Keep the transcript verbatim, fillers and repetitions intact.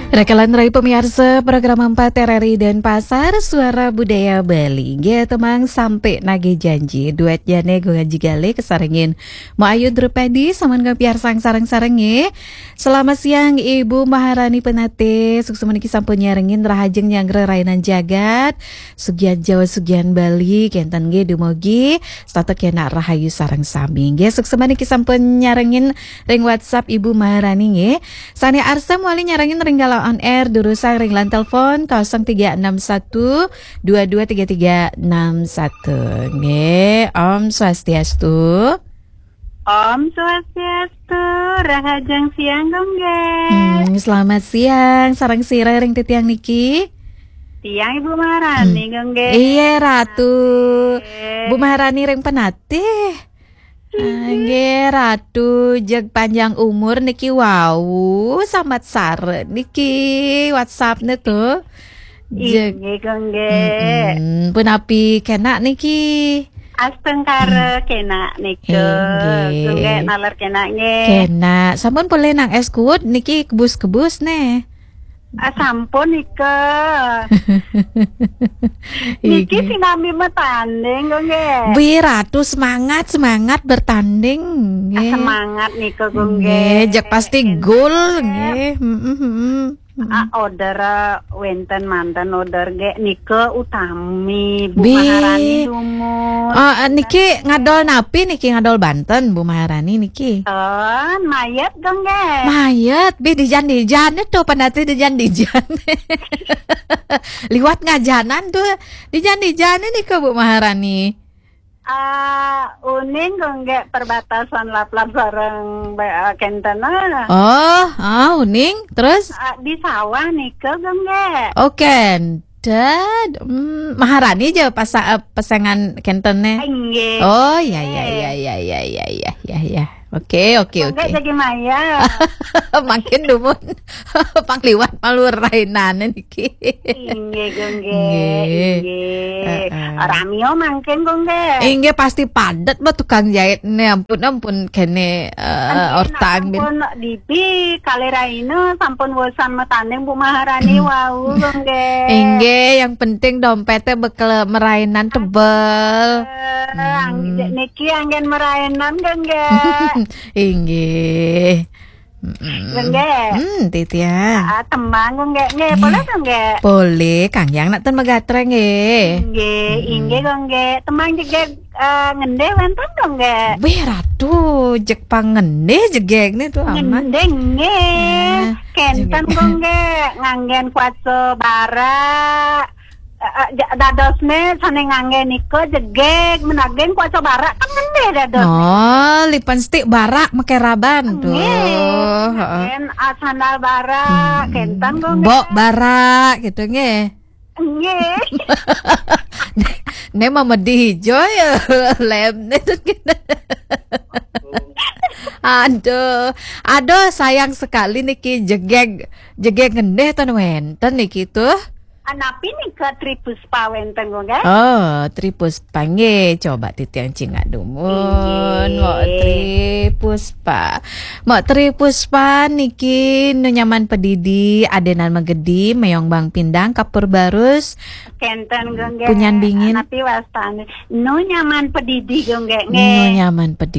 Rakalan rai pamiarsa program empat R R I Denpasar, Suara Budaya Bali. Nggih, temang sampai nagih janji. Duet jane Gung Aji Galih kesarengin Mbok Ayu Drupadi, sampun kapiarsang sareng-sareng nggih. Selamat siang Ibu Maharani Penatih. Suksma niki sampun nyarengin rahajeng nyanggra rainan jagat. Sugihan Jawa, sugihan Bali, kenten nggih dumugi. Setata kenak rahayu sareng sami nggih. Suksma niki sampun nyarengin ring WhatsApp Ibu Maharani nggih. Sane arsa mawali nyarengin ring galah on air, durusang ring line telepon kosong tiga enam satu dua dua tiga tiga enam satu. Nggih, Om Swastiastu. Om Swastiastu, rahajeng siang, Gung Gek. Hmm, selamat siang, sareng sira ring titiang niki? Tiang Ibu Maharani, Hmm. Gung Gek. Iya, Ratu. Oke. Bu Maharani ring Penatih. Ah, nggih, Ratu, jeg panjang umur niki wau, sambat sare niki WhatsApp-ne tuh. Jeg. Inggih, Gung Gek. Mm-mm. Punapi kenak niki? Astungkara kenak nika. Inggih. Gung Gek naler kenak nggih. Kenak. Sampun polih nang es kuwut niki kebus-kebus ne. Ah, sampun nika. Niki Inggih. Sinambi matanding, Gung Gek. Bih Ratu, semangat, semangat bertanding, Ah, nggih. Semangat nika, Gung Nggih, Gek. Jeg pasti gol, Nggih. Nggih. Mm-mm, mm-mm. Ah, order, eh, wenten manten order Gek nika utami Bu Bih. Maharani dumun. Ah, ah, niki ngadol napi niki, ngadol banten Bu Maharani niki? Ten, mayet, Gung Gek. Mayet, bih dijan-dijan itu, Penatih dijan-dijan. Liwat ngajanan tuh, dijan-dijan ini ke Bu Maharani. Ah, uning, Gung Gek, perbatasan Laplap sareng, eh, kenten, ah. Oh, ah, uning, terus? Ah, di sawah nika, Gung Gek. Oh, kenten. Hmm, Maharani aja pas, eh, pesengan kentene. Inggih. Oh, ya, ya, ya, ya, ya, ya, ya, ya, ya. Oke, oke, Gung Gek oke. Jagi maya. Makin dumun. Pang liwat malu rainane niki. Inggih, Gung Gek. Nggih. Inggih. Heeh. Ramio mangkin, Gung Gek. Inggih, pasti padet, Mbak, tukang jahit ne. Ampun, ampun, kene, eh, Ampun, ortang bin. Ampun, Dipi, kalih raina sampun wosan matanding Bu Maharani Hmm. wau, Gung Gek. Inggih, yang penting dompetnya bekel merainan tebel. Eh, ang-, Hmm. niki anggen merainan, Gung Gek. Inggih. Mm-mm. Gung Gek. Hmm, Titia. Ah, tembang, Gung Gek. Nggih, nggih. Boleh, Gung Gek? Boleh, Kang Yang nak ten megatre, nggih. Nggih, Mm-mm. Inggih, Gung Gek. Tembang jegeg, eh, ngendih wenten, Gung Gek? Wih, Ratu, jeg pang ngendih jegeg nih tuh amat. Ngendih, nggih. Eh, kenten, jegeg. Gung Gek. Nganggen kuasa bara. Eh, eh, ja-, dadosne sane ngangge nika jegeg, menaging kuasa barak kan ngendih dados. Oh, lipstick barak make raban tuh. Nggih. Heeh. Ken, ah, sandal barak, hmm, kenten kok. Mbok nggih. Barak gitu nggih. Nggih. Ne mama dijo ya, lemne tuh gitu. Aduh, aduh sayang sekali niki jegeg, jegeg ngendih ten wenten niki tuh. Anapi nika Tri Puspa wenten, nggih? Oh, Tri Puspa nggih. Coba titiang cingak dumun. Inggih. Mbok Tri Puspa. Mbok Tri Puspa niki nu nyaman pedidi, adenan magedi, mayong bang pindang, kapur barus. Kenten, nggih. Punyan bingin. Anapi wastane? Nu nyaman pedidi, nggih, nggih. Nu nyaman pedidi.